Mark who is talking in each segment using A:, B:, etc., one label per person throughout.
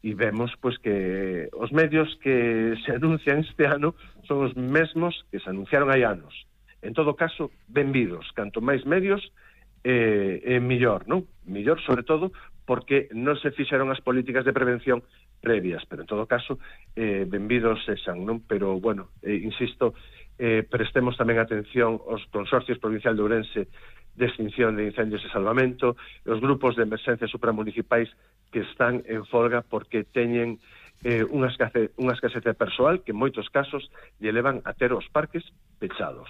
A: e vemos pois que os medios que se anuncian este ano son os mesmos que se anunciaron hai anos. En todo caso, benvidos, canto máis medios mellor, non? Mellor, sobre todo, porque non se fixeron as políticas de prevención previas, pero en todo caso, benvidos sexan, non? Pero, bueno, insisto, prestemos tamén atención aos consorcios provincial de Ourense de extinción de incendios e salvamento, os grupos de emerxencia supramunicipais que están en folga porque teñen unha escasez de persoal que en moitos casos lle levan a ter os parques pechados.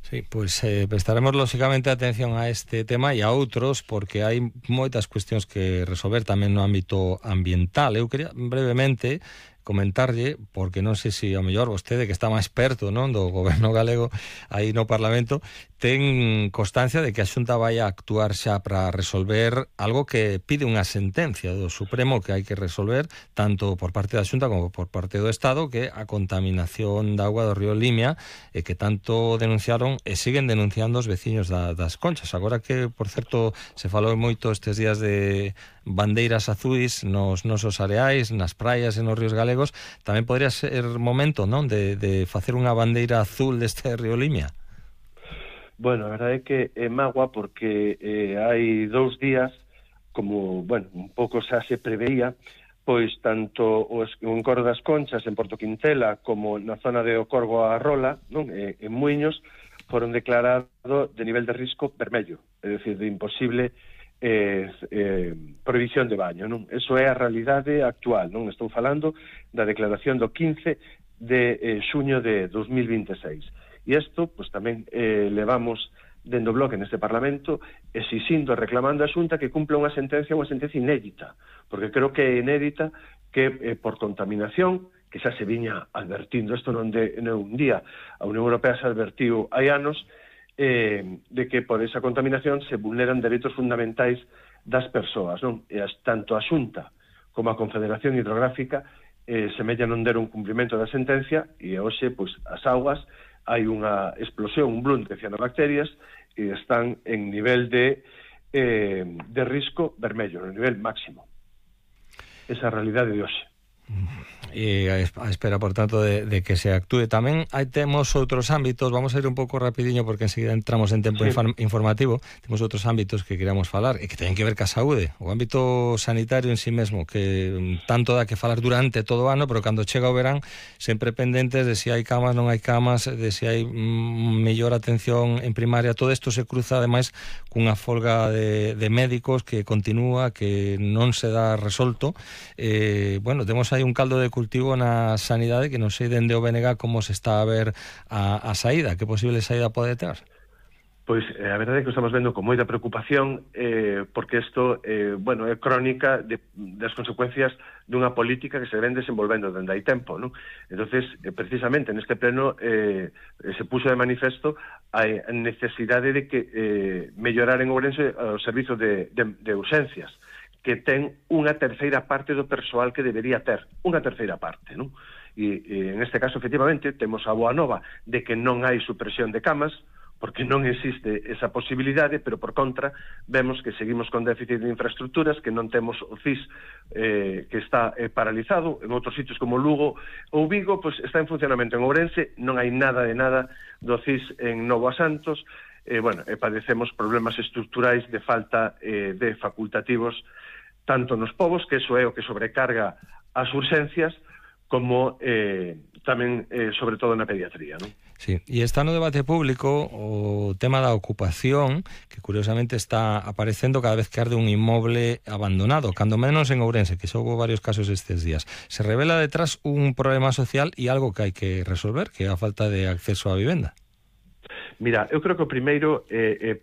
B: Sí, pois prestaremos lóxicamente atención a este tema e a outros, porque hai moitas cuestións que resolver tamén no ámbito ambiental. Eu quería brevemente comentarlle, porque non sei se ao mellor vostede, que está máis perto, non, do goberno galego aí no Parlamento, ten constancia de que a Xunta vai a actuar xa para resolver algo que pide unha sentencia do Supremo que hai que resolver, tanto por parte da Xunta como por parte do Estado, que a contaminación da auga do río Limia, que tanto denunciaron e siguen denunciando os veciños das Conchas. Agora que, por certo, se falou moito estes días de bandeiras azuis nos nosos areais, nas praias e nos ríos galegos, tamén podría ser momento, non, de facer unha bandeira azul deste río Limia?
A: Bueno, a verdade é que é magua porque hai 2 días, como, bueno, un pouco xa se preveía, pois tanto o Encorro das Conchas en Porto Quintela como na zona de O Corgo a Rola, non, en Muiños, foron declarados de nivel de risco vermello, é dicir, de imposible prohibición de baño, non? Eso é a realidade actual, non? Estou falando da declaración do 15 de xuño de 2026. E isto, pois tamén levamos dende o bloque neste Parlamento exixindo, reclamando a Xunta que cumpla unha sentencia inédita, porque creo que é inédita que por contaminación, que xa se viña advertindo, isto non de un día, a Unión Europea se advertiu hai anos, de que por esa contaminación se vulneran dereitos fundamentais das persoas, non? E tanto a Xunta como a Confederación Hidrográfica semella non der un cumprimento da sentencia e hoxe, pois, as augas hai unha explosión, un bloom de cianobacterias e están en nivel de risco vermello, no nivel máximo. Esa é a realidade de hoxe.
B: E a espera, por tanto, de que se actúe. Tamén temos outros ámbitos, vamos a ir un pouco rapidiño porque enseguida entramos en tempo informativo. Temos outros ámbitos que queremos falar e que teñen que ver ca saúde, o ámbito sanitario en sí mesmo, que tanto dá que falar durante todo o ano, pero cando chega o verán sempre pendentes de se hai camas, non hai camas, de se hai mellor atención en primaria. Todo isto se cruza ademais cunha folga de médicos que continúa, que non se dá resolto. Bueno, temos hai un caldo de cultivo na sanidade que non sei dende o BNG como se está a ver a saída, que posible saída pode ter?
A: Pois a verdade é que estamos vendo con moita preocupación porque isto, bueno, é crónica das consecuencias dunha política que se ven desenvolvendo dende hai tempo, non? Entonces, precisamente neste pleno se puxo de manifesto a necesidade de que mellorar en Ourense o servizo de urxencias, que ten unha terceira parte do persoal que debería ter, unha terceira parte, non? E en este caso, efectivamente, temos a boa nova de que non hai supresión de camas, porque non existe esa posibilidade, pero por contra vemos que seguimos con déficit de infraestructuras, que non temos o CIS que está paralizado, en outros sitios como Lugo ou Vigo, pois está en funcionamento. En Ourense non hai nada de nada do CIS en Novo a Santos, bueno, padecemos problemas estructurais de falta de facultativos tanto nos povos, que eso é o que sobrecarga as urxencias, como tamén, sobre todo, na pediatría, non?
B: Sí, e está no debate público o tema da ocupación, que curiosamente está aparecendo cada vez que arde un inmoble abandonado, cando menos en Ourense, que xa houve varios casos estes días. Se revela detrás un problema social e algo que hai que resolver, que é a falta de acceso á vivenda.
A: Mira, eu creo que o primeiro,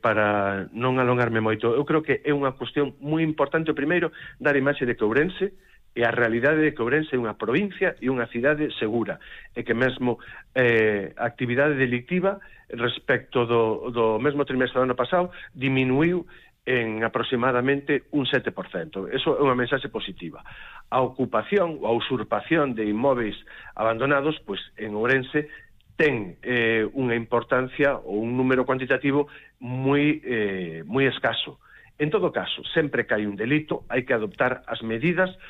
A: para non alongarme moito, eu creo que é unha cuestión moi importante, o primeiro, dar imaxe de que Ourense e a realidade de que Ourense é unha provincia e unha cidade segura, e que mesmo a actividade delictiva respecto do mesmo trimestre do ano pasado diminuiu en aproximadamente un 7%. Eso é unha mensaxe positiva. A ocupación ou a usurpación de inmóveis abandonados, pois en Ourense ten unha importancia ou un número cuantitativo moi escaso. En todo caso, sempre que hai un delito, hai que adoptar as medidas